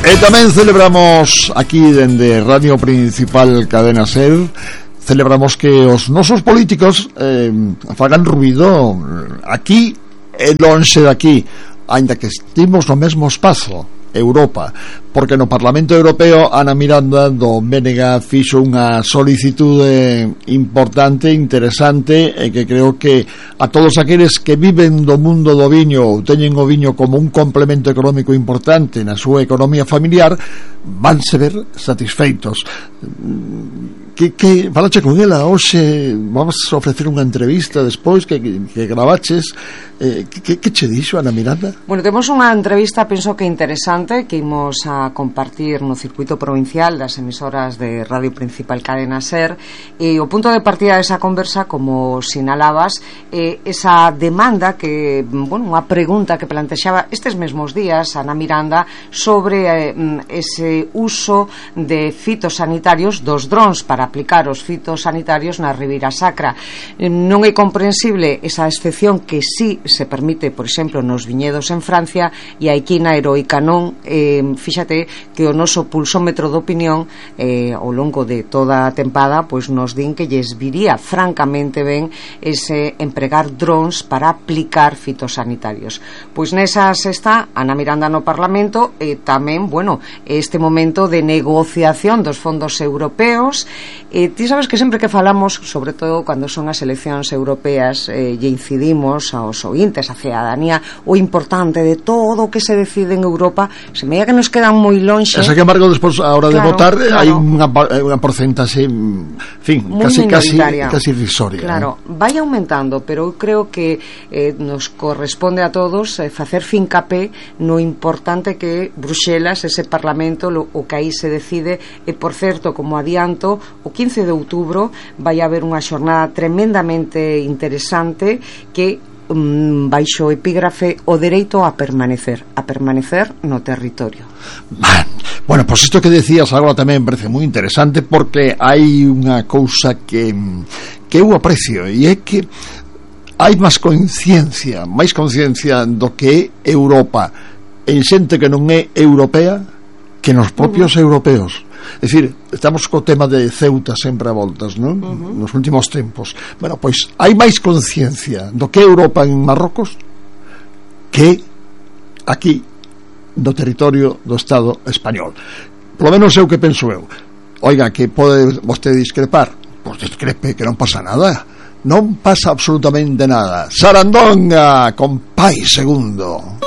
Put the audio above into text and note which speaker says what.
Speaker 1: E tamén celebramos aquí dende Radio Principal Cadena SER, celebramos que os nosos políticos fagan ruido aquí e lonxe daqui, aínda que estimos no mesmo espazo, Europa, porque no Parlamento Europeo Ana Miranda do BNG fixo unha solicitude importante, interesante, e que creo que a todos aqueles que viven do mundo do viño ou teñen o viño como un complemento económico importante na súa economía familiar vanse ver satisfeitos. Que falache con ela hoxe, vamos a ofrecer unha entrevista despois que gravaches. Que che dixo Ana Miranda?
Speaker 2: Bueno, temos unha entrevista, penso que interesante, que imos a compartir no circuito provincial das emisoras de Radio Principal Cadena SER, e o punto de partida desa conversa, como sinalabas, esa demanda que, bueno, unha pregunta que plantexaba estes mesmos días Ana Miranda sobre ese uso de fitosanitarios dos drons para aplicar os fitosanitarios na Ribeira Sacra. Non é comprensible esa excepción que sí se permite, por exemplo, nos viñedos en Francia, e aquí na heroica non. Fíxate que o noso pulsómetro de opinión ao longo de toda a tempada pois nos din que lles viría francamente ben ese empregar drons para aplicar fitosanitarios. Pois nesas está Ana Miranda no Parlamento, e tamén, bueno, este momento de negociación dos fondos europeos. Ti sabes que sempre que falamos, sobre todo cando son as eleccións europeas, lle incidimos aos ointes, a cidadanía, o importante de todo o que se decide en Europa, se me que nos quedan moi lonxe.
Speaker 1: Esa que embargo despois a hora de votar hai unha porcentaxe, en fin, casi irrisoria.
Speaker 2: Claro, vai aumentando, pero eu creo que nos corresponde a todos facer fincapé no importante que Bruxelas, ese Parlamento, o que aí se decide. E por certo, como adianto, o 15 de outubro vai haber unha xornada tremendamente interesante que baixo o epígrafe o dereito a permanecer no territorio.
Speaker 1: Bueno, pois isto que decías agora tamén me parece moi interesante, porque hai unha cousa que eu aprecio, e é que hai máis conciencia do que é Europa en xente que non é europea que nos propios europeos. É dicir, estamos co tema de Ceuta sempre a voltas, non? Nos últimos tempos. Bueno, pois hai máis conciencia do que Europa en Marrocos que aquí do territorio do Estado español. Por lo menos é o que penso eu. Oiga, que pode vostede discrepar? Pois discrepe, que non pasa nada. Non pasa absolutamente nada. Sarandonga con Pai Segundo.